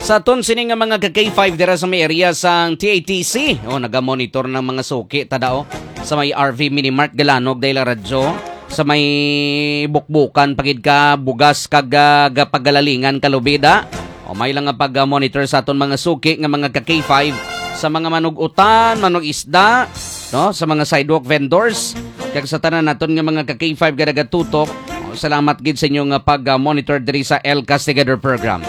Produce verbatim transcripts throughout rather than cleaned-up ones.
Sa aton sini nga mga ka K five dira sa may area sang T A T C. Oh, naga-monitor ng mga suki, tada, oh. Sa may R V Minimart, Galanog, Dela Radyo. Sa may Bukbukan, pagid ka, Bugas, kag, ah, ga-, Pagalalingan, Kalubida. O, may lang nga pag-monitor sa aton mga suki nga mga ka K five sa mga manug-utan, manug-isda, no? Sa mga sidewalk vendors, kag sa tanan naton nga mga ka K five nga nagatutok. O, salamat gid sa inyo nga pag-monitor diri sa El Castigador Program.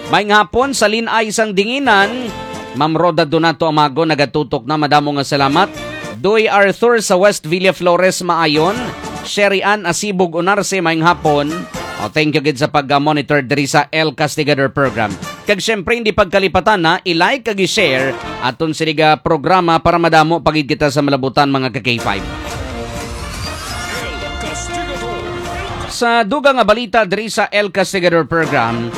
Maayong hapon sa Linay sang Dinginan, Ma'am Rhoda Donato Amago nagatutok na, madamo nga salamat. Doy Arthur sa West Villa Flores, Maayon. Sherry Ann Asibog Unarse, maayong hapon. O, thank you gid sa pag-monitor diri sa El Castigador Program. Kag siyempre, hindi pagkalipatan na, i-like kag i-share aton sini nga programa para madamo pa gid kita sa malabutan, mga ka K five. Sa dugang nga balita diri sa El Castigador Program,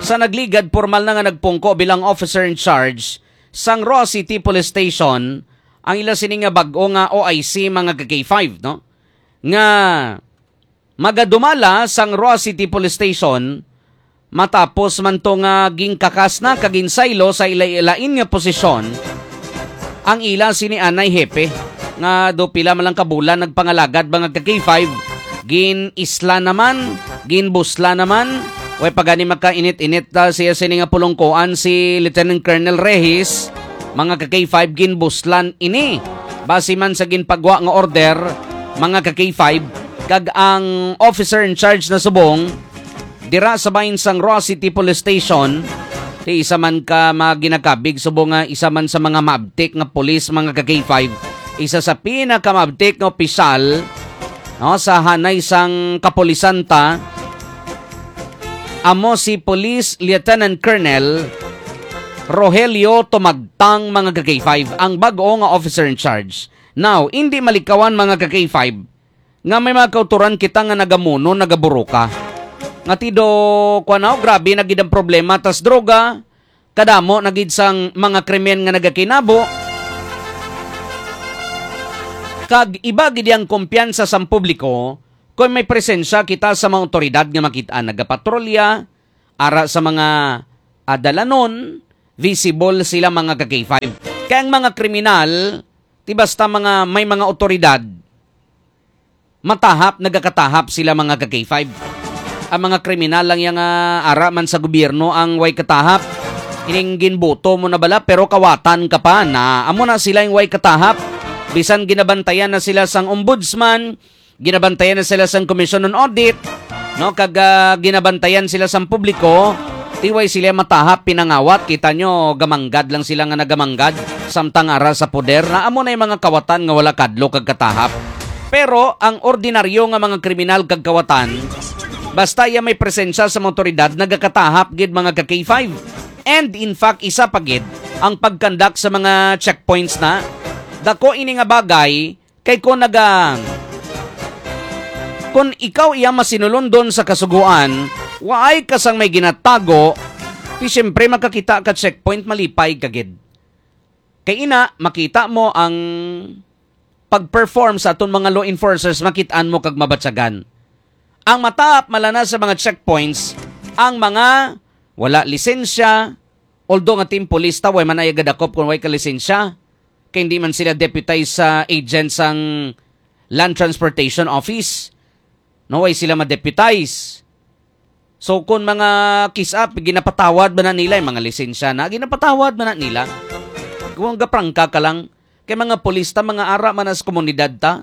sa nagligad, pormal na nga nagpungko bilang officer in charge sang Roa City Police Station ang ila sini nga bag-o nga O I C, mga ka K five, no? Nga magadumala sang Roa City Police Station, matapos man to nga ginkakas na kag ginsaylo sa ila-ilain nga posisyon ang ila sini anay hepe, nga do pila man lang ka bulan nagpangalagad, mga ka K five, gin-isla naman, ginbusla naman, way pa gani makainit-init ta siya sini nga pulungkoan si Lieutenant Colonel Rehis, mga ka K five, ginbuslan ini. Base man sa ginpagwa nga order, mga ka K five, kag ang officer in charge na subong dira sa bahin sang Roa City Police Station, ti isa man ka mga ginakabig subong nga isa man sa mga maabtik nga pulis, mga ka K five, isa sa pinakamaabtik nga opisyal, no, sa hanay sang kapulisan ta, amo si Police Lieutenant Colonel Rogelio Tumagtang, mga ka K five, ang bag-o nga officer in charge. Now, hindi malikawan, mga ka K five, nga may mga kautoran kita nga nagamuno, nagaburuka. Nga tido, kuwan, aw, grabe na gid ang problema tas droga, kadamo na gid sang mga krimen nga nagakinabo. Kag iba gid ang kumpiyansa sang publiko kung may presensya kita sa mga awtoridad nga makit-an nagapatrolya, ara sa mga, ah, dalanon, visible sila, mga ka K five. Kay ang mga kriminal, ti basta mga, may mga awtoridad, matahap, nagakatahap sila, mga ka K five. Ang mga kriminal lang yang, ah, ara man sa gobyerno ang way katahap. Ining ginboto mo na bala, pero kawatan ka pa na. Amo na sila yung way katahap. Bisan ginabantayan na sila sang ombudsman, ginabantayan na sila sang Commission on Audit, no? Kag, ah, ginabantayan sila sang publiko, ti way sila matahap, pinangawat. Kita nyo, gamanggad lang sila nga nagamanggad, samtang ara sa poder. Na amo na yung mga kawatan nga wala kadlo kag katahap. Pero ang ordinaryo nga mga kriminal kag kawatan, basta iya may presensya sa mga awtoridad, nagakatahap gid, mga ka K five. And in fact, isa pa gid ang pagkandak sa mga checkpoints na dako ini nga bagay. Kay kung naga-, kung ikaw iya masinulundon sa kasugoan, waay ka sang may ginatago, ti siyempre makakita ka checkpoint, malipay ka gid. Kay ina, makita mo ang pag-perform sa aton mga law enforcers, makit-an mo kag mabatyagan. Ang matahap malana sa mga checkpoints, ang mga wala lisensya, although nga team police ta, way man ay gadakop kung way ka lisensya. Kay hindi man sila deputized sa agent sang Land Transportation Office. No, way sila ma-deputize. So, kung mga kiss up, ginapatawad ba na nila, yung mga lisensya na, ginapatawad ba na nila? Kung gaprangka ka lang, kay mga pulis ta, mga ara man sa komunidad ta,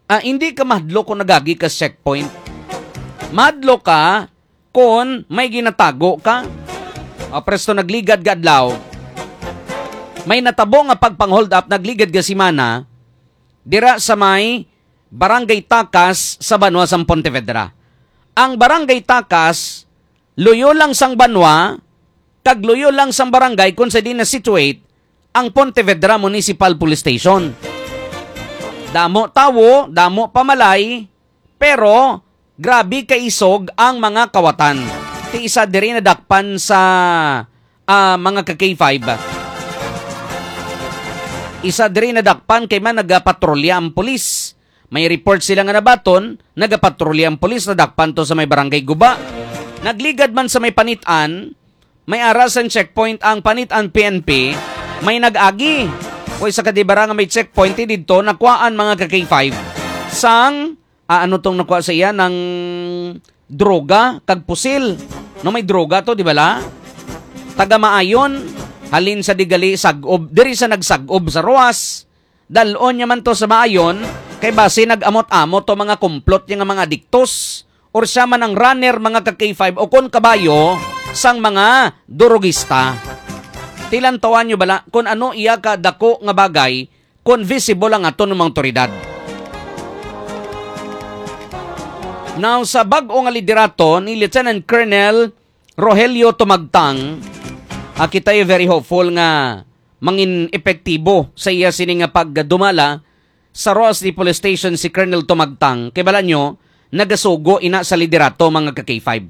ah, hindi ka mahadlok kung nagagi ka sa checkpoint. Mahadlok ka kung may ginatago ka. Ah, presto, nagligad nga adlaw, may natabo nga pagpang-hold up, nagligad nga semana, dira sa may Barangay Takas sa banwa sang Pontevedra. Ang Barangay Takas, luyo lang sang banwa, kag luyo lang sang barangay kung sa diin na-situate ang Pontevedra Municipal Police Station. Damo tawo, damo pamalay, pero grabe kaisog ang mga kawatan. Ti isa diri nadakpan sa, ah, mga ka K five. Isa diri nadakpan kay man nagapatrolya ang pulis. May report sila nga nabaton, nagapatrolya ang pulis, nadakpan to sa may Barangay Guba. Nagligad man sa may Panitan, May ara sang checkpoint ang Panitan P N P, may nag-agi. Kung isa ka di ba ra nga may checkpoint, eh, didto nakuhaan, mga ka K five. Sang, ah, ano tong nakuha sa iya, ng droga kag pusil. No, may droga to, di ba la? Taga Maayon, halin sa digali sag-ob, diri sa nagsag-ob sa Roas. Dal-on niya man to sa Maayon, kay basi nag-amot-amot to mga kumplot niya nga mga adiktos, or siya man ang runner, mga ka K five, o kon kabayo sang mga durugista. Tilantawan niyo bala kon ano iya ka dako nga bagay kon visible ang aton mga awtoridad. Now, sa bag-o nga liderato ni Lieutenant Colonel Rogelio Tumagtang, ah, kita ay very hopeful nga mangin epektibo sa iya sini nga pagdumala sa Roxas City Police Station si Colonel Tumagtang. Kay bala nyo, nagasugo ina sa liderato, mga ka K five.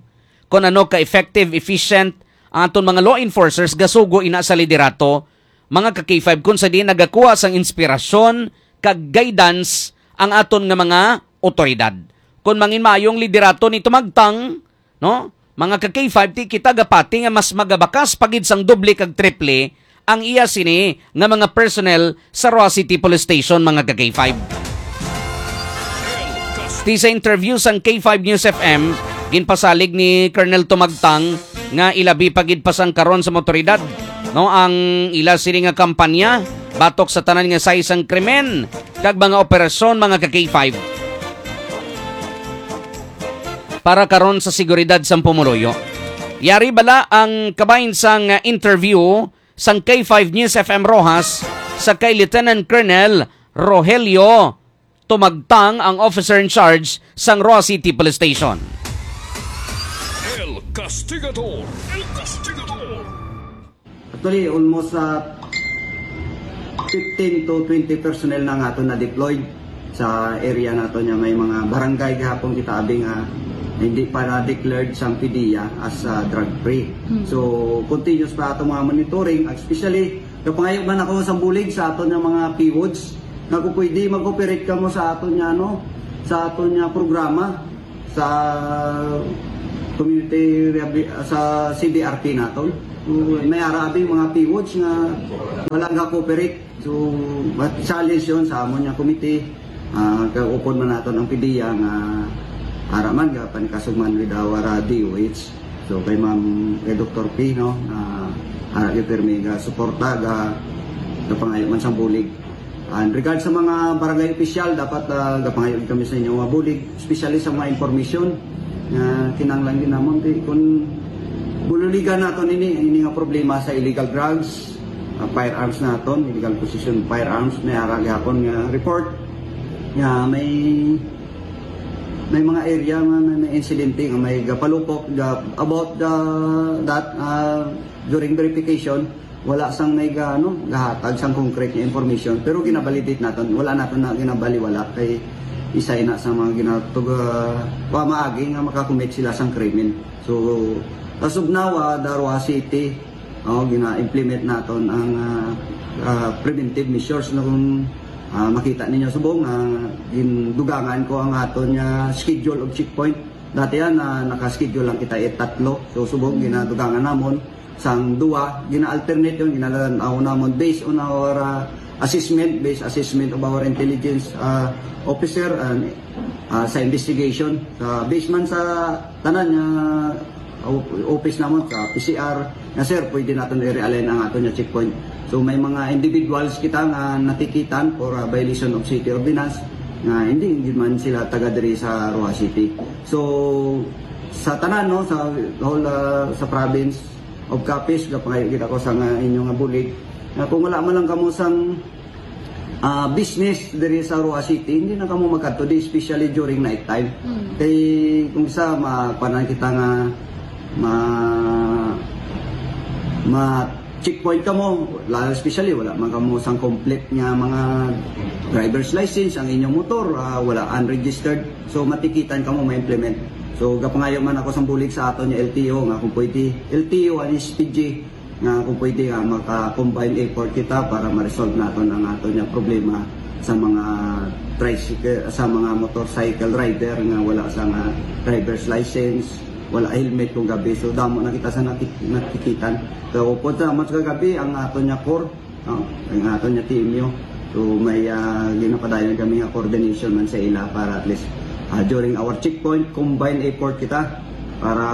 Kung ano ka effective, efficient ang aton mga law enforcers, gasugo ina sa liderato, mga ka K five, kung sa diin nagakuha sang inspirasyon kag guidance ang aton nga mga otoridad. Kung mangin maayong liderato ni Tumagtang, no? Mga ka K five, ti kita gapati nga mas magabakas pa gid sang doble kag triple ang iya sini nga mga personnel sa Roxas City Police Station, mga ka K five. Ti sa interview sang K five News F M, ginpasalig ni Colonel Tumagtang nga ilabi pa gid pa sang karon sa mga otoridad, no, ang ila sini nga kampanya batok sa tanan nga size sang krimen kag mga operasyon, mga ka K five. Para karon sa seguridad sang pumuluyo. Yari bala ang kabahin sang, uh, interview sang K five News F M Roxas sa kay Lieutenant Colonel Rogelio Tumagtang, ang officer in charge sang Roxas City Police Station. El Castigador. El Castigador. Actually, almost, ah, fifteen to twenty personnel na nga aton na-deployed sa area nato niya. May mga barangay gihapon kita abi nga hindi pa na-declared sang PDEA as, ah, drug free. Mm. So, continuous pa ato mga monitoring, especially kapangayo man ako sa bulig sa aton nga mga PWDs nga kung pwede mag-operate kamo sa aton nga, ano, sa aton nga programa sa community rehabi-, sa C D R P naton. So, may ara abi mga PWDs nga wala nga cooperate. So, but challenge yon sa amon nga committee. Ah, kaupod man naton ang PDEA nga ara man ga panikasog man with our, ah, D O H. So, kay Ma'am, kay Doktor P, no, na ara gyud pirmi ga suporta, ga, ga pangayo man sang bulig. And regard sa mga barangay official, dapat, ah, gapangayo kami sa inyo nga bulig, especially sa mga information nga kinahanglan din namon. Kay kung bululigan naton ini, ini nga problema sa illegal drugs, ah, firearms naton, illegal possession of firearms, may ara gihapon nga report nga may, may mga area nga may, may insidente nga may gapalupok ga-, about the, that, ah, during verification, wala sang may ga-, ano, gahatag sang concrete nga information, pero ginabalidate naton, wala naton na ginabaliwala kay isa ina sa mga ginatug-, ah, pamaagi nga makakommit sila sang krimen. So, as of now, ah, the Roxas City, oh, gina-implement naton ang, ah, ah, preventive measures na kung, ah, makita ninyo subong, ah, gindugangan ko ang aton nga schedule of checkpoint. Dati yan, ah, naka-schedule lang kita it tatlo. So, subong, ginadugangan namon sang duwa, gina-alternate yun, ginalaw namon based on our, ah, assessment, based assessment of our intelligence, ah, officer and, ah, sa investigation. Sa, based man sa tanan nga, ah, op-, office namon, sa P C R, nga, "Sir, pwede naton i-realign ang aton nga checkpoint." So, may mga individuals kita nga natikitan for, ah, violation of city ordinance nga hindi, hindi man sila taga diri sa Roxas City. So, sa tanan, no, sa whole, ah, sa province, of Capiz, gapangayo gid ako sa nga inyo nga bulig. Nga kung wala man lang kamo sang, ah, business diri sa Roxas City, hindi na kamo magkadto di, especially during night time. Mm. Kay kung sa ma-, kuanan kita nga ma-, ma-checkpoint kamo, la-, especially wala man kamo sang complete nga mga driver's license, ang inyong motor, ah, wala, unregistered. So, matikitan kamo ma-implement. So, gapangayo man ako sang bulig sa aton nga L T O nga kung pwede, L T O and S P G, nga kung pwede nga maka-combine effort kita para ma-resolve naton ang aton nga problema sa mga tricycle, sa mga motorcycle rider nga wala sa nga driver's license, Wala helmet kung gabi. So, damo na kita sa nakik-, nakikitan. So, upod sa mas kagabi, ang aton niya core, no? Ang aton niya T M U. So, may, ah, ginapadayon kami nga coordination man sa ila para at least, ah, during our checkpoint, combined effort kita para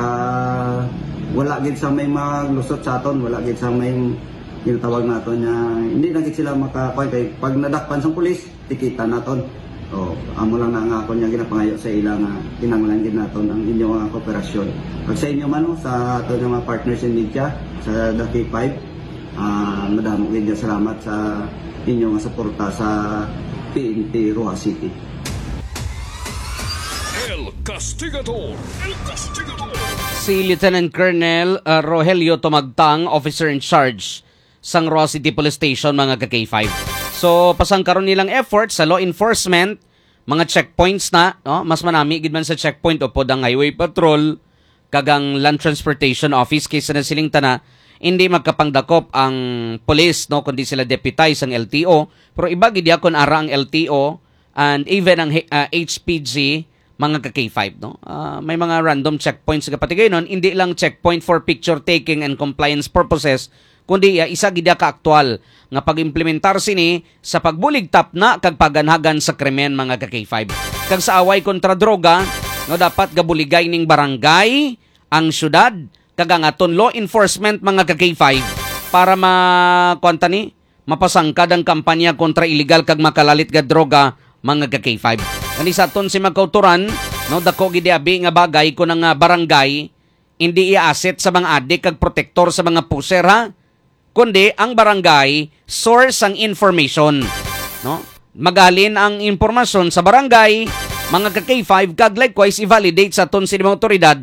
wala gid sa may maglusot sa aton, wala gid sa may ginatawag naton niya, hindi na gid sila maka-, kay pag nadakpan sa pulis, tikita naton. O, amo lang na nga ako niya ginapangayo sa ila nga kinahanglan gid naton ang inyo nga kooperasyon. Pag sa inyo man, no, sa ato nga mga partners in media, sa The K five, ah, madamo gid nga salamat sa inyo nga suporta sa P N P Roxas City. El Castigador. El Castigador. Si Lieutenant Colonel, uh, Rogelio Tumagtang, officer in charge sang Roxas City Police Station, mga ka-K five. So, pasang karon nilang effort sa law enforcement, mga checkpoints na, no? Mas manami gid man sa checkpoint upod ang highway patrol kag ang land transportation office kaysa na siling tana, hindi magkapangdakop ang police, no, kundi sila deputize ang L T O. Pero iba gid ya kung ara ang L T O and even ang H- ah, H P G, mga ka-K five, no? Ah, may mga random checkpoints nga patigaynon, hindi lang checkpoint for picture taking and compliance purposes, kundi, ah, isa gid ya ka aktual nga pag-implementar sini sa pagbulig tapna kag paganhagan sa krimen, mga ka-K five. Kag sa away kontra droga, no, dapat gabuligay ning barangay, ang syudad, kag ang aton law enforcement, mga ka-K five, para ma-, kuwan ta ni, mapasangkad ang kampanya kontra iligal kag makalalit nga droga, mga ka-K five. Kani sa aton si mga kautoran, no, dako gid abi nga bagay kung ang, ah, barangay hindi i-asset sa mga adik kag protektor sa mga pusher, ha? Kundi ang barangay source sang information, no? Magalin ang impormasyon sa barangay, mga ka-K five, kag likewise i-validate sa aton sini mga otoridad,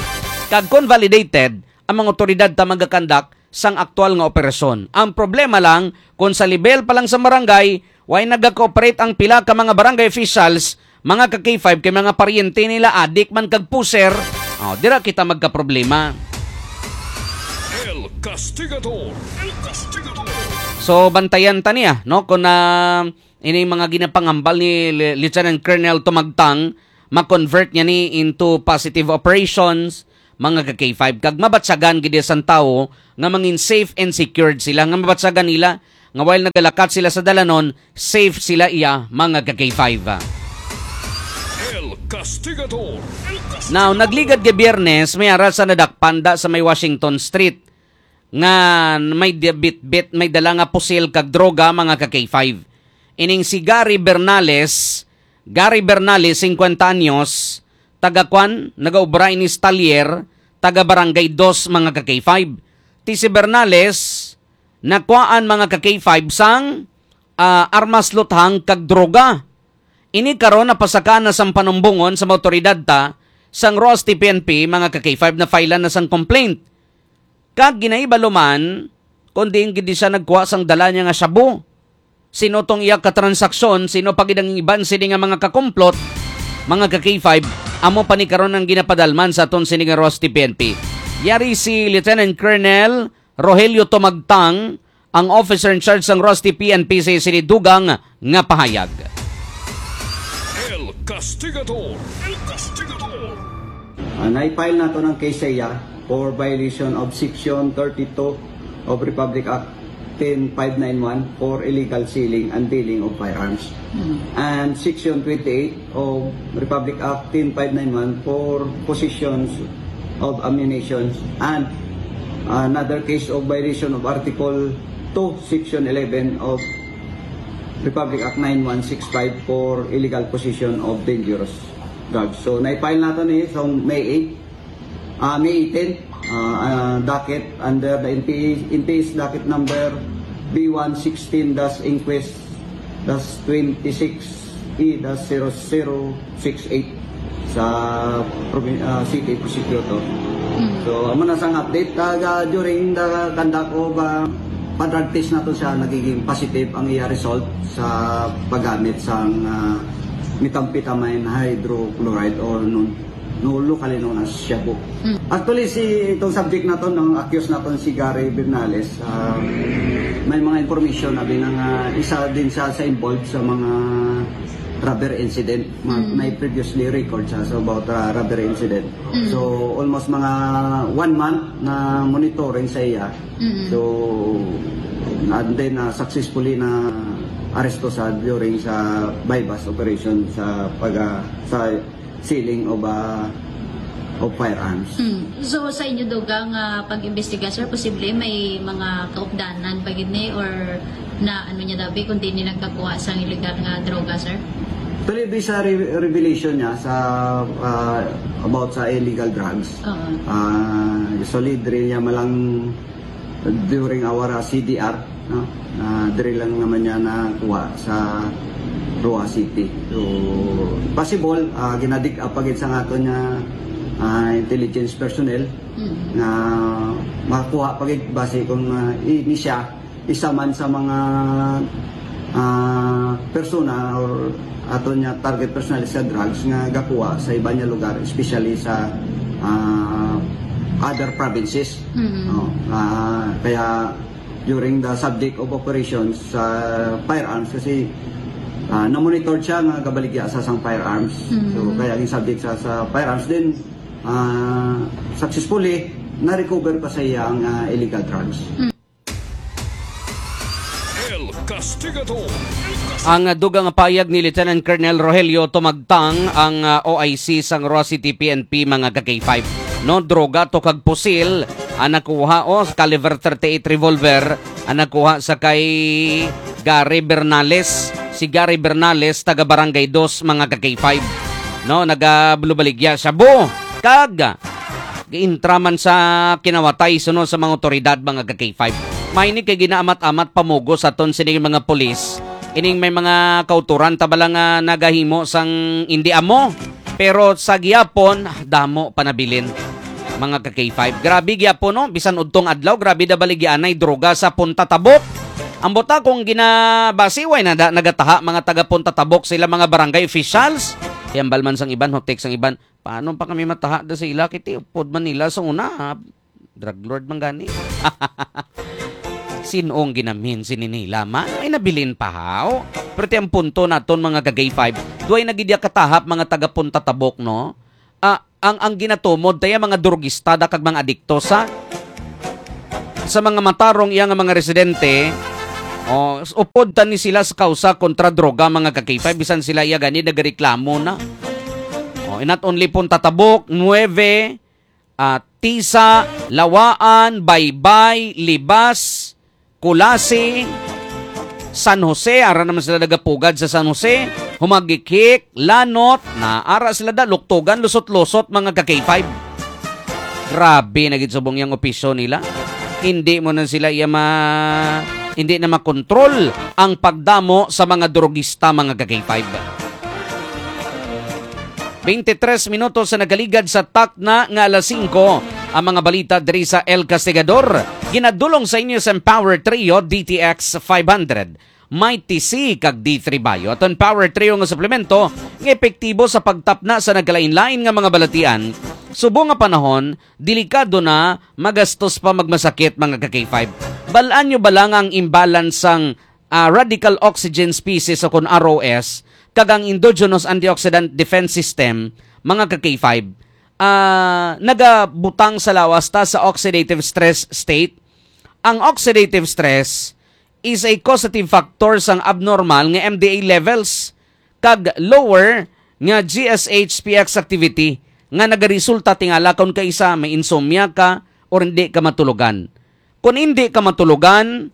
kag kung validated, ang mga otoridad ta magakandak sang aktual nga operasyon. Ang problema lang, kung sa level pa lang sa barangay, way nagakooperate ang pila ka mga barangay officials, mga ka-K five, kay mga paryente nila adik man kag puser, oh, dira kita magkaproblema. El Castigador. El Castigador. So, bantayan ta niya, no? Kung na ining mga ginapangambal ni Li-, Lieutenant Colonel Tumagtang, ma-convert niya ni into positive operations, mga ka-K five, kag mabatyagan gid sang tawo nga mangin safe and secured sila, nga mabatyagan nila nga while nagalakat sila sa dalanon, safe sila iya, mga ka-K five. El Castigador. El Castigador. Now, nagligad kay Biyernes, may ara sa nadakpan da sa may Washington Street nga may di-, bitbit, may dala nga pusil kag droga, mga ka-K five. Ining si Gary Bernales, Gary Bernales, singkwenta anyos, taga Kwan, nagaobra ini sa talyer, taga Barangay Dos, mga ka-K five. Ti si Bernales, nakuhaan, mga ka-K five, sang, ah, armas luthang kag droga. Ini karon napasakaan na sang panumbongon sa mga awtoridad ta sang Roxas T P N P, mga ka-K five, na filean na sang complaint. Kag ginahibalo man kung diin gid siya nagkuha sang dala niya nga shabu. Sino tong iya ka transaksyon, sino pa gid ang iban sini nga mga kakumplot, mga ka-K five, amo pa ni karon ang ginapadalman sa aton sini nga Roxas T P N P. Yari si Lieutenant Colonel Rogelio Tumagtang, ang officer in charge sang Roxas T P N P, sa sini dugang nga pahayag. El Castigador. El Castigador. Ah, na-file nato ng case sa iya for violation of Section thirty-two of Republic Act ten five nine one for illegal selling and dealing of firearms. And Section twenty-eight of Republic Act ten five nine one for possessions of ammunition, and another case of violation of Article two, Section eleven of Republic Act nine one six five for illegal possession of dangerous drugs. So, na-file nato ni sa May eight, ah, May eighteen, ah, ah, docket under the N P A, N P A's docket number B one sixteen dash inquest dash twenty-six E dash zero zero six eight sa provi-, ah, city prosecutor. So, amo na sang update. Taga, during the conduct of, ah, pa-drug test nato siya, nagiging positive ang iya result sa paggamit sang, ah, methamphetamine hydrochloride or known, no, locally known as shabu. Actually, si, itong subject nato, ang accused nato si Gary Bernales, ah, may mga information na binang, ah, isa din siya sa involved sa mga rubber incident. Ma- Mm. May previously record siya so about uh, rubber incident. Mm. So almost mga one month na monitoring sa iya. Mm. So and then uh, successfully na aresto sa during sa buy-bust operation sa pag uh, sa sealing of uh, of firearms. Mm. So sa inyo dugang uh, pag-imbestiga, sir, posible may mga kaupdanan pa gid ni or na ano niya dabi kung di ni nagkakuha sang illegal nga droga, sir? Actually, based sa re- revelation niya sa uh, about sa illegal drugs, Oo. uh, solid rin niya malang during our uh, C D R, no? Uh, diri lang naman niya nakuha sa Roa City. So, possible, uh, ginadig up agad sa aton niya uh, intelligence personnel Mm. na makakuha pa gid base kung uh, i- ni siya isa man sa mga ah, persona or ato niya target personally sa drugs nga gakuha sa iba niya lugar, especially sa ah, other provinces. Mhm. No? Ah, kaya during the subject of operations sa firearms kasi ah, na-monitor siya nga gabaligya sa sang firearms. Mhm. So kaya ang subject sa, sa firearms din ah, successfully na-recover pa sa iya ang ah, illegal drugs. El Castigador. Ang dugang payag ni Lieutenant Colonel Rogelio Tumagtang ang ah, O I C sang Roa City P N P, mga ka-K five. No, droga to kag pusil ang nakuha, o, caliber thirty-eight revolver ang nakuha sa kay Gary Bernales. Si Gary Bernales, taga Barangay Dos, mga ka-K five. No, nagabaligya siya, bo, kag giintra man sa kinawatay suno sa mga otoridad, mga ka-K five. May ni kay ginaamat-amat pamugo sa aton sining mga pulis. Ining may mga kauturan ta bala nga nagahimo sang indi amo, pero sa gihapon damo panabilin, mga ka-K five. Grabe gihapon, no? Bisan udtong adlaw, grabe da baligyaanay droga sa Punta Tabok. Ang buta kung ginabasiway na da, nagataha mga taga Punta Tabok sila mga barangay officials. Hambal man sang iban, hutik sang iban. Paano pa kami mataha da sa ila? Kiti upod man nila sa una, ha? Drug lord man gani. Sinong ginamin si Ninila man? Ay nabilin pa haw. Pero ti ang punto naton mga ka-K five, duay na gid ya katahap mga taga Punta Tabok, no? Ah, ang ang ginatumod taya mga drugista da kag mga adikto sa sa mga matarong iya nga mga residente. Oh, upod ta ni sila sa kausa kontra droga, mga ka-K five, bisan sila iya gani nagareklamo na. Oh, not only Punta Tabok, Nueve, ah, Tisa, Lawaan, Baybay, Libas, Culasi, San Jose, ara naman sila nagapugad sa San Jose, Humagikhik, Lanot, na ara sila da, Luktugan, Lusot-Lusot, mga ka-K five. Grabe na gid subong yang opisyo nila. Hindi mo na sila iya ma-, hindi na makontrol ang pagdamo sa mga drogista, mga ka-K five. Twenty-tres minutos sa nagaligad sa takna nga alas singko. Ang mga balita diri sa El Castigador, ginadulong sa inyo sa Empower Trio D T X five hundred, Mighty C kag D three Bio. Aton Power Trio nga suplemento nga epektibo sa pagtapna sa nagkalain-lain nga mga balatian. Subong nga panahon, delikado na, magastos pa, magmasakit, mga ka-K five. Bal-an nyo bala nga ang imbalance sang ah, radical oxygen species o kon R O S kag ang endogenous antioxidant defense system, mga ka-K five, ah, nagabutang sa lawas ta sa oxidative stress state. Ang oxidative stress is a causative factor sang abnormal nga M D A levels kag lower nga G S H P X activity nga nagaresulta tingala kon kaisa may insomnia ka or hindi ka matulogan. Kon hindi ka matulogan,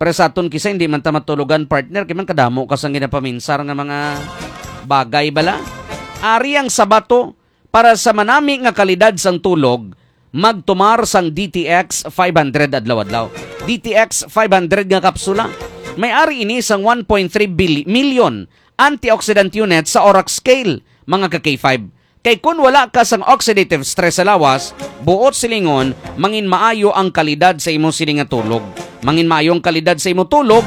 para sa aton kisa, hindi man ta matulogan, partner, kay man kadamo ka sang ginapaminsar nga mga bagay bala. Ari ang sabato para sa manami nga kalidad sang tulog, magtumar sang D T X five hundred adlaw-adlaw. D T X five hundred nga kapsula. May ari ini sang one point three bil-, million antioxidant unit sa Orax scale, mga ka-K five. Kay kun wala ka sang oxidative stress sa lawas, buot silingon, mangin maayo ang kalidad sa imo sini nga tulog. Mangin maayo ang kalidad sa imo tulog,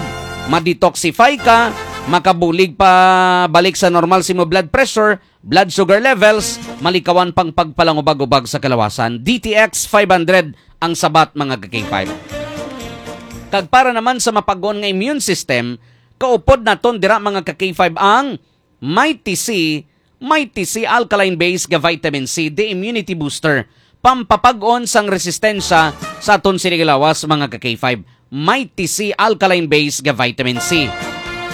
ma-detoxify ka, makabulig pa balik sa normal sa imo blood pressure, blood sugar levels, malikawan pang pagpalangubag-ubag sa kalawasan. D T X five hundred ang sabat, mga ka-K five. Kag para naman sa mapag-on nga immune system, kaupod naton dira, mga ka-K five, ang Mighty C, Mighty C alkaline base nga vitamin C, the immunity booster, pampapag-on sang resistensya sa aton sini nga lawas, mga ka K five. Mighty C alkaline base nga vitamin C.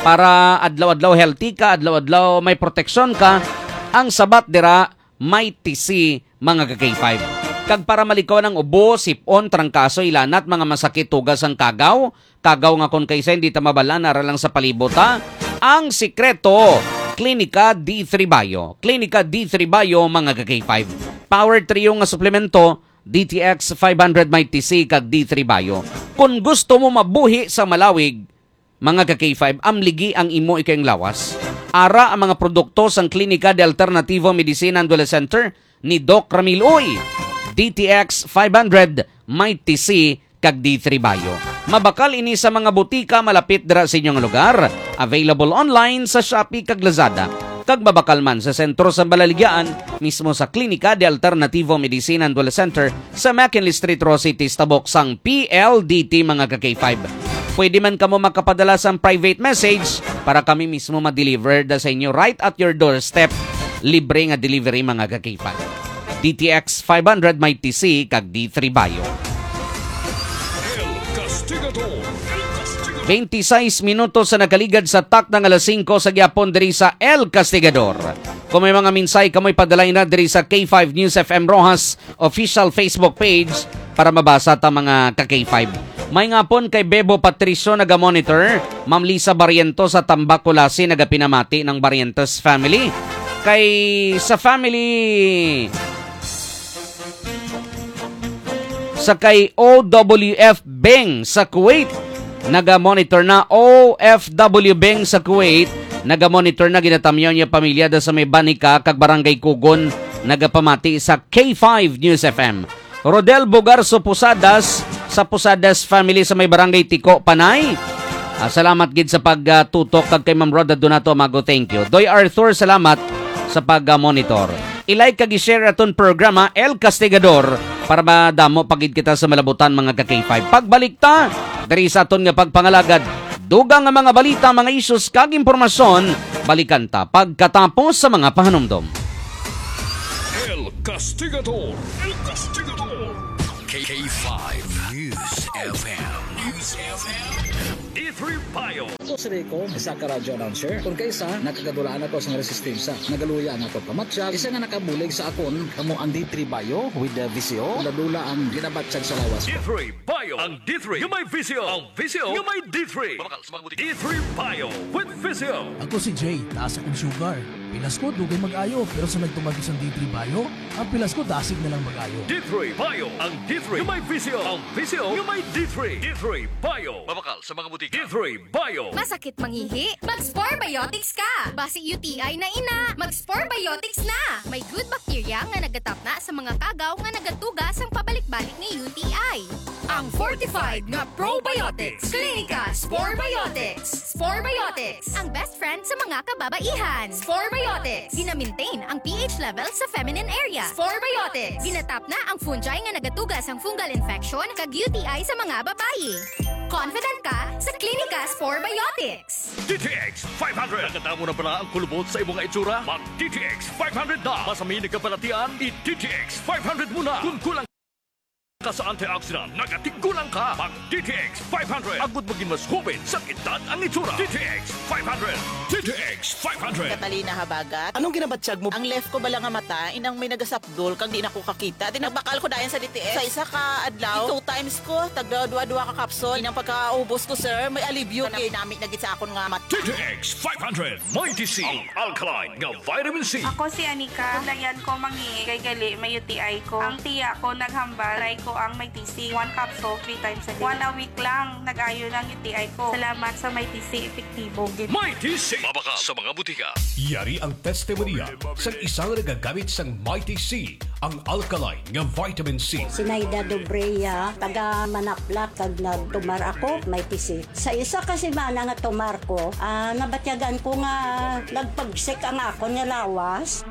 Para adlaw-adlaw healthy ka, adlaw-adlaw may proteksyon ka, ang sabat dira, Mighty C, mga ka K five. Kag para malikawan ang ubo, sip-on, trangkaso, ilanat, mga masakit, tuga sang kagaw, kagaw nga kon kaysa hindi ta mabalaan, ara lang sa palibot, ha? Ang sikreto, Klinika D three Bio. Klinika D three Bio, mga ka K five. Power trio nga suplemento, D T X five hundred Mighty C kag D three Bio. Kung gusto mo mabuhi sa malawig, mga ka K five, amligi ang imo ikayong lawas. Ara ang mga produkto sang Klinika de Alternativo Medicina and Wellness Center ni Doc Ramil Uy. D T X five hundred, Mighty C, kag D three Bio. Mabakal ini sa mga butika malapit dira sa inyong lugar. Available online sa Shopee kag Lazada. Kag mabakal man sa sentro sa Balaligyaan, mismo sa Klinika de Alternativo Medicina and Wellness Center sa McKinley Street, Roxas City, sa tabok sang P L D T, mga ka K five. Pwede man kamo makapadala sang private message para kami mismo ma-deliver da sa inyo right at your doorstep. Libre nga delivery, mga ka K five. D T X five hundred, Mighty C, kag D three Bio. El Castigador. Twenty-six minutos sa nakaligad sa takna nga alas singko sa gihapon diri sa El Castigador. Kung may mga mensahe kamoy, padalay na diri sa K five News F M Roxas official Facebook page para mabasa ta, mga ka K five. May ngapon kay Bebo Patricio naga-monitor, Ma'am Lisa Barrientos sa Tambacolasi nagapinamati ng Barrientos family. Kay sa family sa kay O W F Beng sa Kuwait, naga-monitor na. O F W Beng sa Kuwait, naga-monitor na. Ginatamyaw niya pamilya da sa may Banica kag Barangay Kugon, nagapamati sa K five News F M. Rodel Bogarso Posadas sa Posadas family sa may Barangay Tiko, Panay. Ah, salamat gid sa pagtutok kag kay Ma'am Rhoda Donato Amago, thank you. Doy Arthur, salamat sa pag-monitor. I-like kag i-share aton programa, El Castigador, para madamo pa gid kita sa malabutan, mga ka K five. Pagbalik ta diri sa aton nga pagpangalagad, dugang nga mga balita, mga issues kag impormasyon, balikan ta pagkatapos sa mga pahanumdom. El Castigador. El Castigador. K five News F M. News F M. D three Bio. Ako si Rico, isa ka radio announcer. Kung kaisa, nakagadulaan ako sa resistensya. Nagaluya ang ako pamatyag. Isa nga nakabulig sa akon, kamo ang D three Bio with the V C O. Dula-dula ang ginabatyag sa lawas ko. D three Bio. Ang D three nga may V C O. Ang V C O nga may D three. Mabakal sa mga butika. D three Bio with V C O. Ako si Jay, taas akong sugar. Pilas ko, dugay mag-ayo, pero sa nagtumag isang D three Bio, ang pilas ko dasig na lang mag-ayo. D three Bio, ang D three nga may V C O. Ang V C O nga may D three. D three Bio. Mabakal sa mga butika. D three Bio. Masakit mangihi? Mag-Spore Biotics ka! Basi U T I na ina, mag-Spore Biotics na! May good bacteria nga nagatapna sa mga kagaw nga nagatuga sang pabalik-balik nga U T I. Ang fortified nga probiotics. Klinika Spore Biotics. Spore Biotics, ang best friend sa mga kababaihan. Spore Biotics, gina-maintain ang P H level sa feminine area. Spore Biotics, ginatapna ang fungi nga nagatuga sang fungal infection kag U T I sa mga babayi. Confident ka sa Klinika Spore Biotics. D T X five hundred. Nakadamo na bala ang kulubot sa imo nga itsura? Mag D T X five hundred na. Masami nagkabalatian, i D T X five hundred mo na. Kung kulang ka sa antioxidant, nagatigulang ka. Mag D T X five hundred. Agud maging mas hubin sa edad ang itsura. D T X five hundred. D T X five hundred. Catalina Habagat. Anong ginabatyag mo? Ang left ko bala nga mata, inang may nagasapdol, kag di na ko kakita. Di nagbakal ko dayon sa D T X. Sa isa ka adlaw, two times ko, tagda dua-dua ka capsule. Inang pagkaubos ko, sir, may alibyo. Kanami-nami na gid sa akon nga mata. D T X five hundred, Mighty C, ang alkaline nga vitamin C. Ako si Anika. Kulayan ko mangihi kay gali may U T I ko. Ang tiya ko naghambal, try ko ang Mighty C. One capsule, three times a day. One a week lang, nag-ayo na ang U T I ko. Salamat sa Mighty C, epektibo gid. Mighty C. Mabakal sa mga butika. Yari ang testimonya sang isang nagagamit sang Mighty C, ang alkaline nga vitamin C. Sinaida Dobrea, taga Manaplak, kag nagtumar ako, Mighty C. Sa isa ka semana nga tumar ko, ah, nabatyagan ko nga nagpagsik ang akon nga lawas.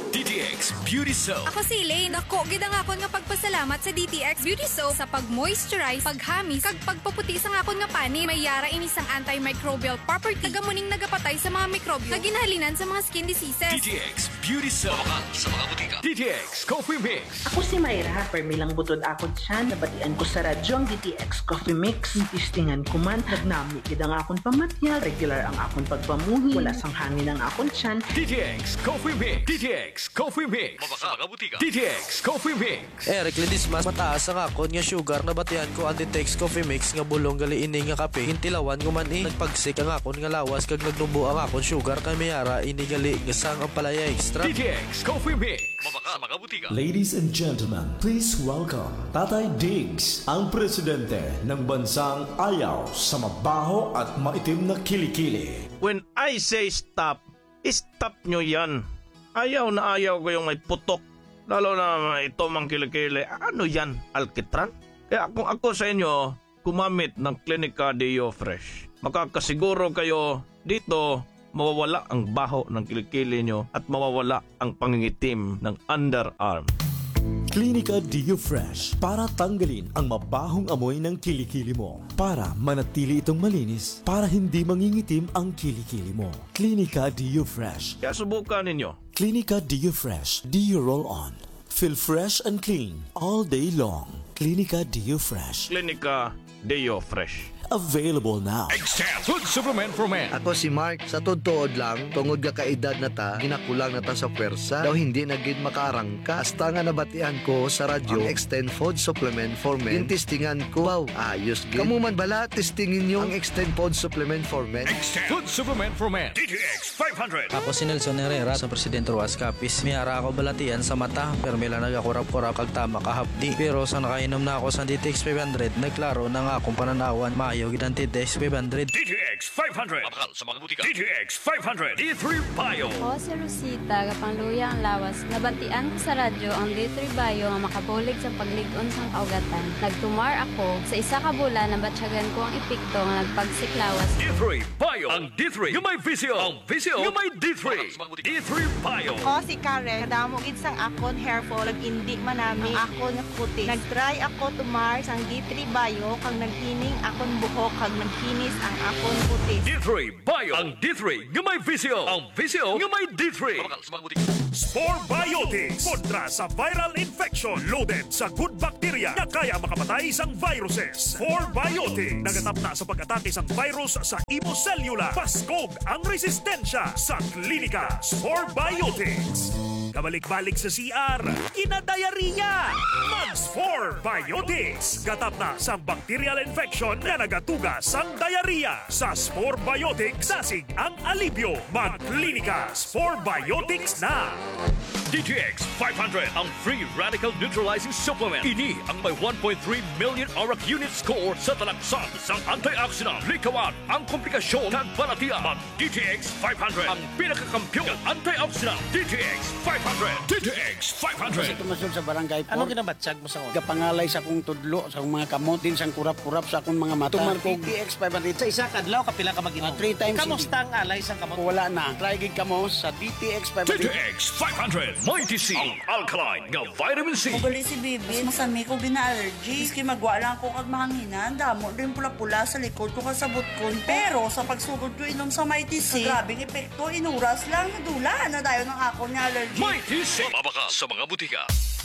D T X Beauty Soap. Ako si Elaine. Dako gid ang akon nga pagpasalamat sa D T X Beauty Soap sa pag-moisturize, paghamis, kag pagpaputi sang akon nga panit. May yara ini sang antimicrobial property, kag amo ning nagapatay sa mga mikrobyo nga ginahalinan sa mga skin diseases. D T X Beauty Soap. Mabakal sa mga butika. D T X Coffee Mix. Ako si Myra, permi lang butod akon tiyan, nabatian ko sa radyo ang D T X Coffee Mix. Testingan ko man, nagnami gid ang akon pamatiag, regular ang akon pagpamuhi, wala sang hangin ang akon tiyan. D T X Coffee Mix. D T X Coffee Mix. Mabakal sa mga butika. D T X Coffee Mix. Eric Ledesma, mataas ang akon nga sugar, nabatian ko ang D T X Coffee Mix nga bulong gali ini nga kape. Gintilawan ko man, eh, nagpagsik ang akon nga lawas kag nagnubo ang akon sugar, kay may ara ini gali nga sang ampalaya extract. D T X Coffee Mix. Mabakal sa mga butika. Ladies and gentlemen, please welcome Tatay Diggs, ang presidente ng bansang ayaw sa mabaho at maitim na kilikili. When I say stop, stop nyo yan. Ayaw na ayaw ko yung may putok. Lalo na ito mang kilikili. Ano yan? Alkitran? Kaya kung ako sa inyo, gumamit ng Clinica Deo Fresh. Makakasiguro kayo dito mawawala ang baho ng kilikili nyo at mawawala ang pangingitim ng underarm. Clinica Deo Fresh para tanggalin ang mabahong amoy ng kilikili mo. Para manatili itong malinis, para hindi mangingitim ang kilikili mo. Clinica Deo Fresh. Kaya subukan ninyo. Clinica Deo Fresh Deo Roll On. Feel fresh and clean all day long. Clinica Deo Fresh. Clinica Deo Fresh. Available now. Extend Food Supplement for Men. Ako si Mark. Sa tuod-tuod lang, tungod nga kaedad na ta, ginakulang na ta sa pwersa. Daw hindi na gid makaarangka. Hasta nga nabatian ko sa radyo ang Extend Food Supplement for Men. Gintistingan ko. Wow, ayos gid. Kamo man bala, testingin nyo ang Extend Food Supplement for Men. Extend Food Supplement for Men. D T X five hundred. Ako si Nelson Herrera sa Presidente Roxas Capiz. May ara ako balatian sa mata, pero may lang nagakurap-kurap kag tama kahapdi. Pero sa nakainom na ako sa D T X five hundred, nagklaro na nga akong pananawan, maayo gid ang D T X five hundred. D T X five hundred. Mabakal sa mga butika. D T X five hundred. D three Bio. Ako si Rosita, gapangluya ang lawas. Nabatian ko sa radyo ang D three Bio nga makabulig sa paglig-on sang kaugatan. Nagtumar ako. Sa isa ka bulan, nabatyagan ko ang epekto nga nagpagsik lawas. D three Bio. Ang D three nga may visyo. Ang visyo nga may D three. D three Bio. Ako si Karen. Kadamo gid sang akon hair fall, nag-indi manami ang akon nga kutis. Nag-try ako tumar sang D three Bio, kag naghining akon buhok, kag nagkinis ang akon kutis. D three Bio. Ang D three nga may visyo. Ang visyo nga may D three. Spore Biotics. Kontra sa viral infection. Loaded sa good bacteria nga kaya makapatay sang viruses. Spore Biotics. Nagatapna sa pag-atake sang virus sa imo selula. Paskog ang resistensya sa klinika. Spore Biotics. Kabalik-balik sa C R, kinadayariya. Mag Spore Biotics. Gatapna sang bacterial infection nga nagatuga sang diarrhea. Sa Spore Biotics, dasig ang alibyo. Magklinika Spore Biotics na. D T X five hundred, ang free radical neutralizing supplement. Ini ang may one point three million ORAC unit score sa talaksan sang antioxidant. Likawan ang komplikasyon kag balatian. Mag D T X five hundred, ang pinakakampiyon nga antioxidant. D T X five hundred. D T X five hundred. Sa tumasod sa barangay Anong four, ginabatyag mo sa una? Gapangalay sa akong tudlo, sa akong mga kamot, din sang kurap-kurap sa akong mga mata. Tumar ko D T X five hundred. Sa isa ka adlaw, kapila ka mag-inom? Ah, three times a day. Kamusta ang alay sa kamot? Wala na. Try gid kamo sa D T X five hundred. D T X five hundred, Mighty C, ang alkaline nga vitamin C. Ugali si Bibi, mas masami ko gina-allergy. Miski magwa lang ko kag mahanginan, damo din pula-pula sa likod ko kag sa butkon ko. Pero sa pagsugod ko inom sa Mighty C, grabe ang epekto, inuras lang, nadula na dayon ang akon nga allergy. Mighty C. Mabakal sa mga butika.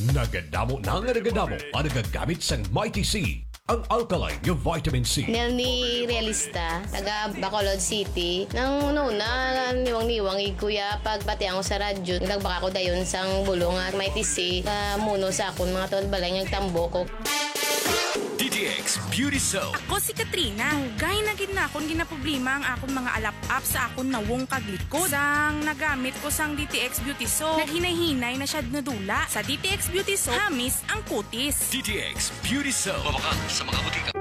Nagadamo na nga nagadamo ang nagagamit sang Mighty C, ang alkaline nga vitamin C. Nelny Realista, taga Bacolod City. Nang una-una, niwang-niwang gid ko ya pagbatian ko sa radyo. Nagdagba ako dayon sang bulong nga Mighty C, nga muno sa akon mga tuod balay nga nagtambok ko. D T X Beauty Soap. Ako si Katrina. Dugay na gid na akon ginaproblema ang akon mga alap-ap sa akon nawong kag likod. Sang nagamit ko sang D T X Beauty Soap, naghinay-hinay na siya nadula. Sa D T X Beauty Soap, hamis ang kutis. D T X Beauty Soap. Mabakal sa mga butika.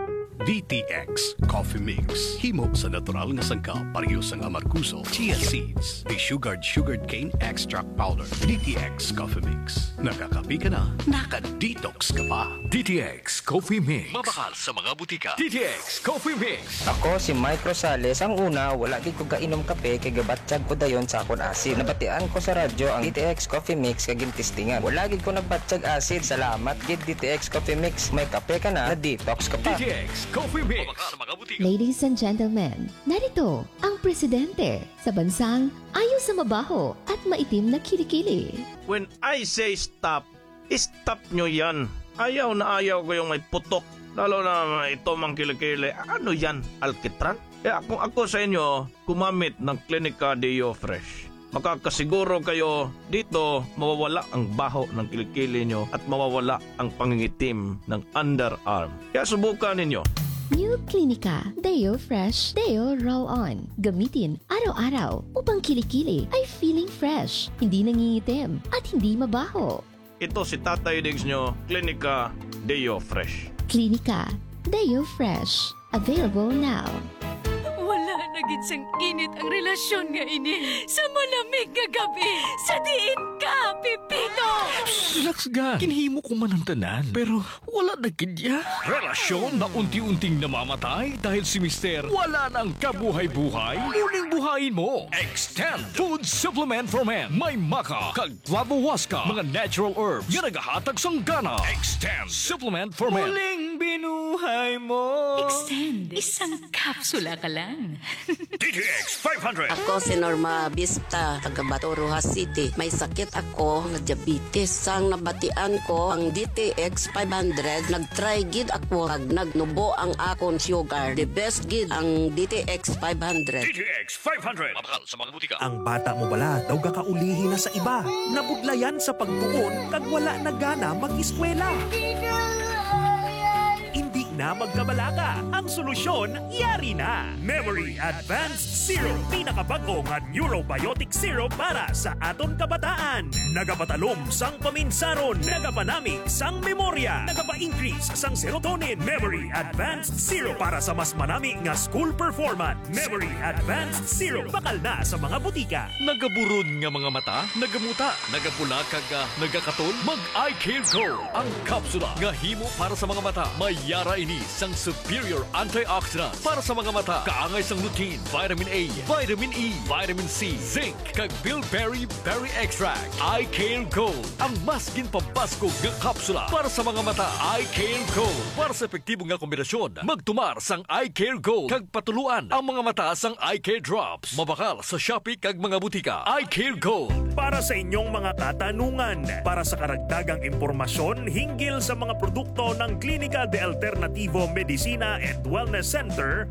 D T X Coffee Mix. Himo sa natural nga sangkap, pareho sang amargoso, chia seeds, desugared sugarcane extract powder. D T X Coffee Mix. Nakakape ka na, naka-detox ka pa. D T X Coffee Mix. Mabakal sa mga butika. D T X Coffee Mix. Ako si Mike Rosales. Ang una, wala gid ko kainom kape kay gabatyag ko dayon sa akon asid. Nabatian ko sa radyo ang D T X Coffee Mix kag gintistingan. Wala gid ko nagbatyag asid. Salamat gid D T X Coffee Mix. May kape ka na, na-detox ka pa. D T X Coffee Mix. Mabakal sa mga butika. Ladies and gentlemen, narito ang presidente sa bansang ayo sa mabaho at maitim na kilikili. When I say stop, stop nyo yan. Ayaw na ayaw ko yung may putok. Lalo na ito mang kilikili. Ano yan? Alkitran? Kaya kung ako sa inyo, gumamit ng Clinica Deo Fresh. Makakasiguro kayo dito mawawala ang baho ng kilikili nyo at mawawala ang pangingitim ng underarm. Kaya subukan ninyo. New Clinica Deo Fresh Deo Roll On. Gamitin araw-araw upang kilikili ay feeling fresh, hindi nangingitim, at hindi mabaho. Ito si Tatay Diggs nyo, Klinika Deo Fresh. Klinika Deo Fresh. Available now. Wala na gid sang init ang relasyon nga ini sa malamig nga gabi. Sa diin ka, Pipito? Relax, ga. Ginhimo ko man ang tanan, pero wala na gid ya. Relasyon na unti-unting namamatay dahil si Mister wala nang kabuhay-buhay. Muling buhayin mo. Extend Food Supplement for Men. May maca kag flavohuasca, mga natural herbs nga nagahatag sang gana. Extend Supplement for Men. Muling binuhay mo. Extend. Isang kapsula ka lang. D T X five hundred. Ako si Norma Vista, taga Bato, Roxas City. May sakit ako nga diabetes. Sang nabatian ko ang D T X five hundred, nag-try gid ako kag nagnubo ang akon sugar. The best gid ang D T X five hundred. D T X five hundred. Mabakal sa mga butika. Ang bata mo bala daw gakaulihi na sa iba. Nabudlayan sa pagtuon kag wala na gana mag-eskwela. Hindi na magkabalaka. Ang solusyon, yari na. Memory Advanced Syrup. Pinakabag-o nga neurobiotic syrup para sa aton kabataan. Nagapatalom sang paminsaron. Nagapanami sang memorya. Nagapa-increase sang serotonin. Memory Advanced Syrup para sa mas manami nga school performance. Memory Advanced Syrup. Bakal na sa mga butika. Nagaburon nga mga mata, nagamuta, nagapula kag, ah, nagakatol, mag Eye Care Gold. Ang kapsula nga himo para sa mga mata. May yara ini sang superior antioxidant para sa mga mata. Kaangay sang lutein, vitamin A, vitamin E, vitamin C, zinc, kag bilberry berry extract. Eye Care Gold, ang mas ginpabaskog nga kapsula para sa mga mata. Eye Care Gold. Para sa epektibo nga kombinasyon, magtumar sang Eye Care Gold kag patuluan ang mga mata sang Eye Care Drops. Mabakal sa Shopee kag mga butika. Eye Care Gold. Para sa inyong mga katanungan, para sa karagdagang impormasyon hinggil sa mga produkto ng Klinika de Alternativo Medicina and Wellness Center,